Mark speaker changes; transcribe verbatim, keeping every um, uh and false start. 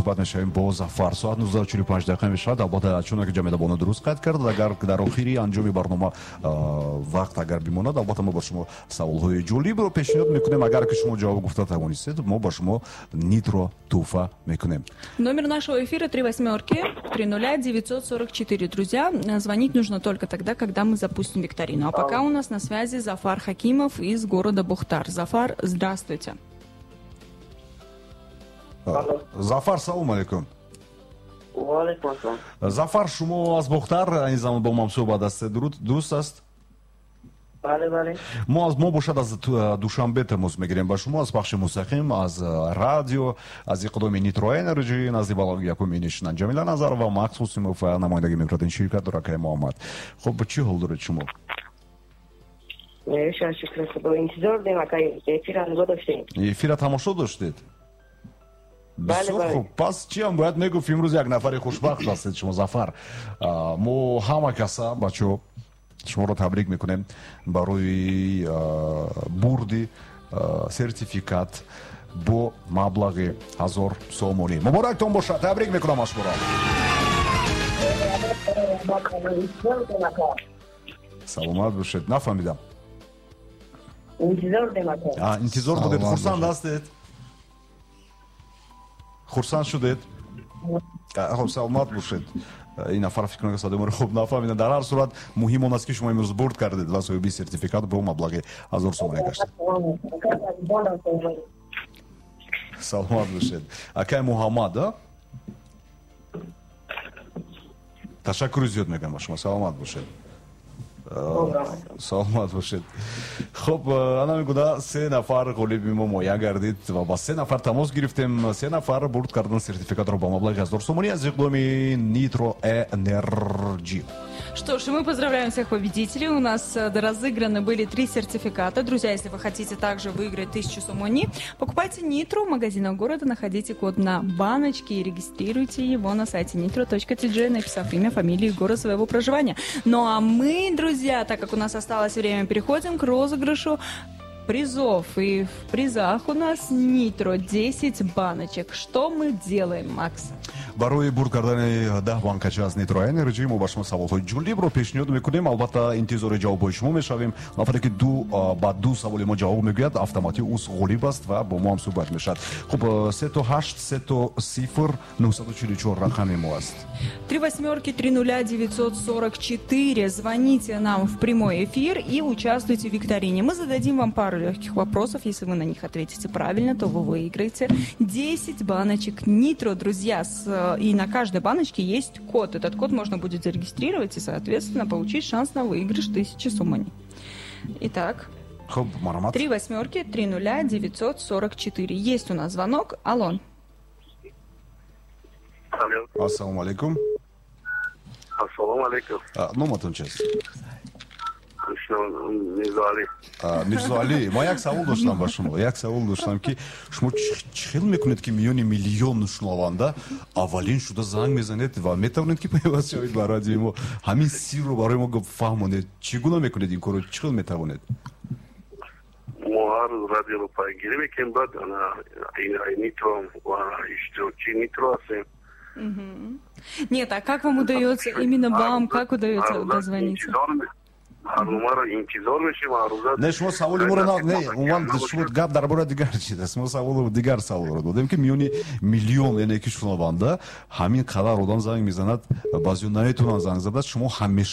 Speaker 1: Ҳамсуҳбат мешавем бо Зафар. Соат нуздаҳу чилу панҷ дақиқа мешавад. Албатта, чуноке Ҷамила Бону дуруст қайд кард, агар дар охири анҷоми барнома вақт агар бимонад, албатта, мо ба шумо саволҳои ҷолибро пешниҳод мекунем. Агар ки шумо ҷавоб гуфта тавонистед, мо ба шумо Нитро тӯҳфа мекунем.
Speaker 2: Номер нашего эфира три восьмерки три нуля девятьсот сорок четыре. Друзья, звонить нужно только тогда, когда мы запустим викторину. А пока у нас на связи Зафар Хакимов из города Бохтар. Зафар, здравствуйте.
Speaker 1: Зафар, салом алейкум.
Speaker 3: Ваалейкум ассалом.
Speaker 1: Зафар, шумо аз Бохтар ин замон бо мо ҳамсуҳбат ҳастед, дуруст аст?
Speaker 3: Бале, бале.
Speaker 1: Мо аз мо бошад, аз Душанбе тамос мегирем ба шумо, аз пахши мустақим аз радио, аз иқдоми Нитро Энерджи. Назди баланги якум менишинанд Ҷамила Назарова, Макс Ҳусимов ва намояндагӣ мекунад ин ширкат Дуракаи Муҳаммад. Хуб, чӣ ҳол доред шумо?
Speaker 3: Шукри Худо, интизор будем, акай, эфира нигоҳ доштем.
Speaker 1: Эфира тамошо доштед? Бисёр хуб. Пас чиам бояд мегуфт, имрӯз як нафари хушбахт ҳастед шумо, Зафар. Мо ҳама каса, бачаҳо, шуморо табрик мекунем барои бурди сертификат бо маблағи ҳазор сомонӣ. Муборактон бошад, табрик мекунам аз шуморо. Саломат бошед. Нафаҳмидам. Интизор будед. Хурсанд ҳастед? Хурсанд шудед? Хуб, саломат бошед. Ин нафар фикр мекунад, садои моро хуб нафаҳмида. Дар ҳар сурат, муҳим он аст, ки шумо имрӯз бурд кардед ва соҳиби сертификат бо маблағи ҳазор сомонӣ гаштед. Саломат бошед. Акай Муҳаммад, а? Ташаккури зиёд мегӯям ба шумо. Саломат бошед. Саломат бошед. Хуб, ана мегӯда, се нафар ғолиби мо муайян гардид ва ба се нафар тамос гирифтем. Се нафар бурд кардан сертификатро ба маблағи ҳазор сомонӣ аз иқдоми Нитро Энерджи.
Speaker 2: Что ж, мы поздравляем всех победителей. У нас разыграны были три сертификата. Друзья, если вы хотите также выиграть тысячу сомони, покупайте Нитро в магазинах города, находите код на баночке и регистрируйте его на сайте nitro точка ти джи, написав имя, фамилию и город своего проживания. Ну а мы, друзья, так как у нас осталось время, переходим к розыгрышу призов. И в призах у нас Нитро десять баночек. Что мы делаем, Макс?
Speaker 1: Барои бурд кардани даҳ банкача аз Нитро Энерджи мо ба шумо саволҳои ҷолибро пешниҳод мекунем. Албатта, интизори ҷавобҳои шумо мешавем. Нафаре ки ду ба ду саволи мо ҷавоб мегӯяд, автоматӣ ӯ ғолиб аст ва бо мо ҳам суҳбат мешавад. Хуб, се то ҳашт, се то сифр, нуҳсаду чилу чор рақами мо аст.
Speaker 2: Три восьмерки, три нуля, девятьсот сорок четыре. Звоните нам в прямой эфир и участвуйте в викторине. Мы зададим вам пару легких вопросов. Если вы на них ответите правильно, то вы выиграете десять баночек Нитро, друзья. С... И на каждой баночке есть код. Этот код можно будет зарегистрировать и, соответственно, получить шанс на выигрыш тысячи сомони. Итак, три восьмерки, три нуля, девятьсот сорок четыре. Есть у нас звонок. Алло.
Speaker 4: Алло.
Speaker 1: Ассаламу алейкум.
Speaker 4: Ассаламу алейкум.
Speaker 1: Номатон чест?
Speaker 4: Мирзоалӣ.
Speaker 1: Мирзоалӣ, ман як савол доштам ба шумо. Як савол доштам, ки шумо чӣ хел мекунед, ки миёни миллион шунаванда аввалин шуда занг мезанед ва метавонед, ки пайваст шавед ба радиои мо? Ҳамин сирро барои мо фаҳмонед. Чӣ гуна мекунед ин корро? Чӣ хел метавонед?
Speaker 4: Мо ҳар рӯз радиоро пайгирӣ мекунем, баъд Нитро ва иштирокчии Нитро ҳастем.
Speaker 2: Нет, а как вам удается, именно вам, как удается дозвониться?
Speaker 1: Не, шумо саволи моро не, умуман шумо гап дар бораи дигар чиз аст. Мо саволу дигар саволро додем, ки миёни миллион, яъне ки шунаванда, ҳамин қадар одам занг мезанад, баъзеҳо наметавонанд занг зада, шумо ҳамеша